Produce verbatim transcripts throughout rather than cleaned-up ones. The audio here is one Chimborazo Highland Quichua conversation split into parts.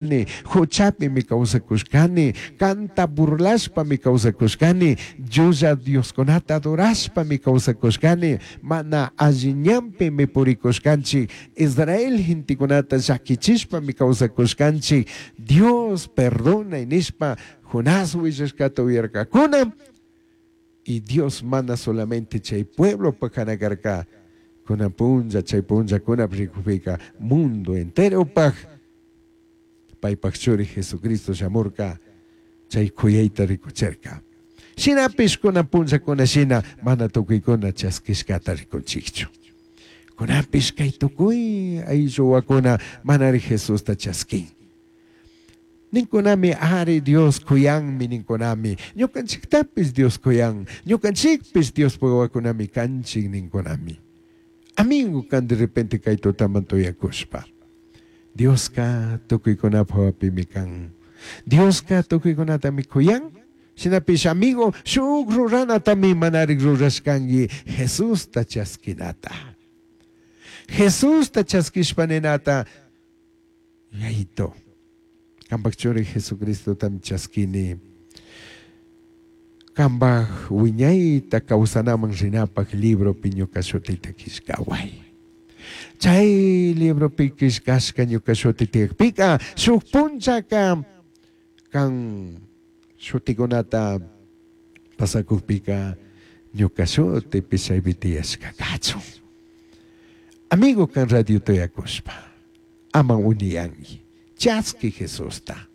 Huchapimi kawsakushkani, kanta burlashpami kawsakushkani, llulla dioskunata adorashpami kawsakushkani, mana alli ñanpimi purikushkanchik, Israel gentekunata llakichishpami kawsakushkanchik, Dios perdonay nishpa Jonás willashkata uyarkakuna. Y Dios mana solamente chay pueblopak karka, kunan punlla chay punllakuna rikupika mundo enteropak paypak churi Jesucristo shamurka chay kuyayta rikuchirka. Shinapish kunan punllakuna shina mana tukuykuna chaskishkata rikunchikchu. Kunapish kay tukuy aylluwakuna manari Jesusta chaskin. Ninkunami ari Dios kuyanmi ninkunami, ñukanchiktapis Dios kuyan, ñukanchikpis Dios wawakunami kanchik ninkunami. Amigo kan de repente kay tutaman tuyakushpa. Dioska tukuykunapaj hawapimi kan. Dioska tukuykunatami kuyan. Shinapish amigo shuk ruranatami manarik rurashkanki Jesusta chaskinata. Jesusta chaskishpa ninata Yayito. Kampak churi Jesucristotami chaskini. Kampak wiñayta kawsanaman rinapak libropi ñuka shutita killkaway. Chay libropi killkashka ñuka shuti tiyakpika shuk punchaka kan shutikunata pasakukpika ñuka shutipi chaypi tiyashka kachun. Amigo kan radio tuyakushpa ama uniyanki chaski Jesusta.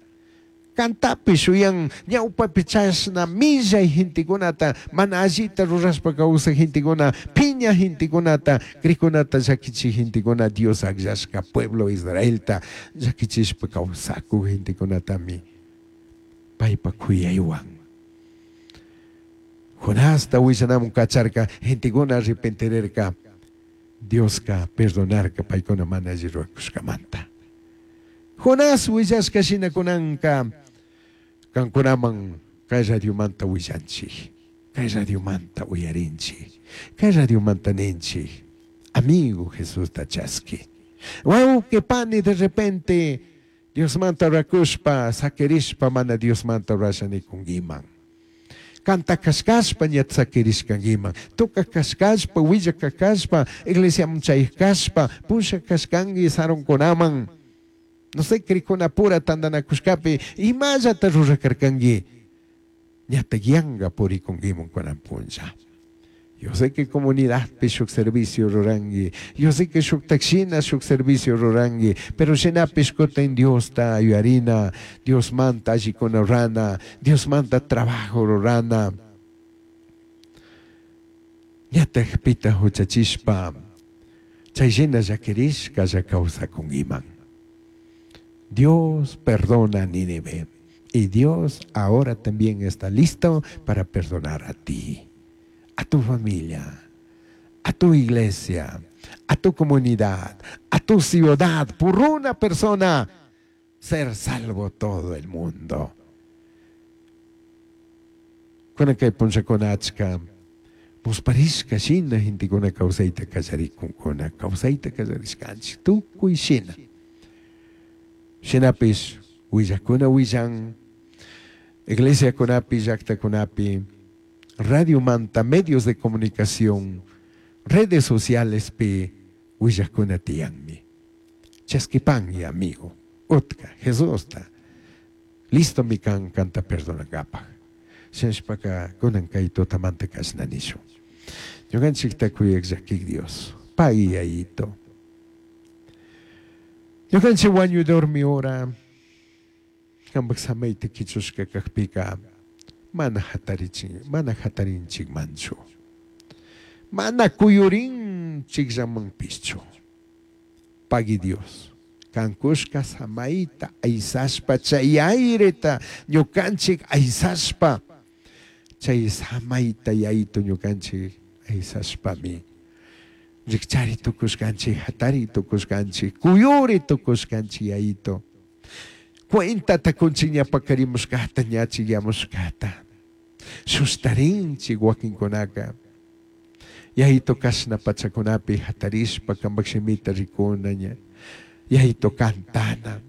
Kantapi shuyan ñawpapi chashna millay gentekunata mana allita rurashpa kawsaq gentekuna piña gentekunata krikunata llakichik gentekuna Dios akllashka pueblo Israelta llakichishpa kawsakuk gentekunatami paypa kuyaywan Jonasta willanamun kacharka gentekuna arrepentirerka Dioska perdonarka paykuna mana alli rurakushkamanta. Jonás willashka shina kunanka kankunaman kay radiomanta willanchik, kay radiomanta uyarinchik, kay radiomanta ninchik, amigo Jesusta chaski. Wawqi pani de repente Diosmanta orakushpa sakirishpa mana Diosmanta orasha nikunkiman. Kanta kashkashpa ña sakirishkankiman, tuka kashkashpa, willaka kashpa, iglesiaman chayaq kashpa, pusha kashkanki sarunkunaman. No sé, krikuna pura tantanakushkapi imallata rurakarkanki ñata yanka purikunkiman kunan punlla. Yo sé que comunidadpi shuk servicio ruranki, yo sé que shuktak shina shuk servicio ruranki, pero shinapish kutin Diosta ayudarina, Diosmanta allikuna rurana, Diosmanta trabajo rurana. Ñataj pita huchachishpa, chay shina llakirishka lla kawsakunkiman. Dios perdona a Nínive y Dios ahora también está listo para perdonar a ti, a tu familia, a tu iglesia, a tu comunidad, a tu ciudad, por una persona, ser salvo todo el mundo. Kunan kay punllakuna achka musparishka shina gentekuna kawsayta kallarikunkuna, kawsayta kallarishkanchik tukuy shina. Shinapish willakuna willan, iglesiakunapi, llaktakunapi, radiomanta, medios de comunicación, redes sociales pi willakuna tiyanmi. Chaskipangi, amigo, utka, Jesusta, listo mi kan kanta perdonangapaj. Shinashpaka kunan kay tutamanta kashna nishun. Ñukanchikta kuyak llakik Dios, pagui Yayito. Ñukanchik wañuy dormi hora, kampak samayta kichushka kakpika, mana hatarichin, mana hatarinchikmanchu. Mana kuyurinchikllamanpishchu. Pagui Dios. Kankushka samayta aysashpa chay aireta ñukanchik aysashpa chay samayta Yayito ñukanchik aysashpami rikchari tukushkanchik, hatari tukushkanchik, kuyuri tukushkanchik Yayito. Cuentata kunchik ña pakarimushkata, ña chikyamushkata. Sustarinchik wakinkunaka. Yayito kashna pachakunapi hatarishpa kampak shimita rikuna ña. Yayito kantana.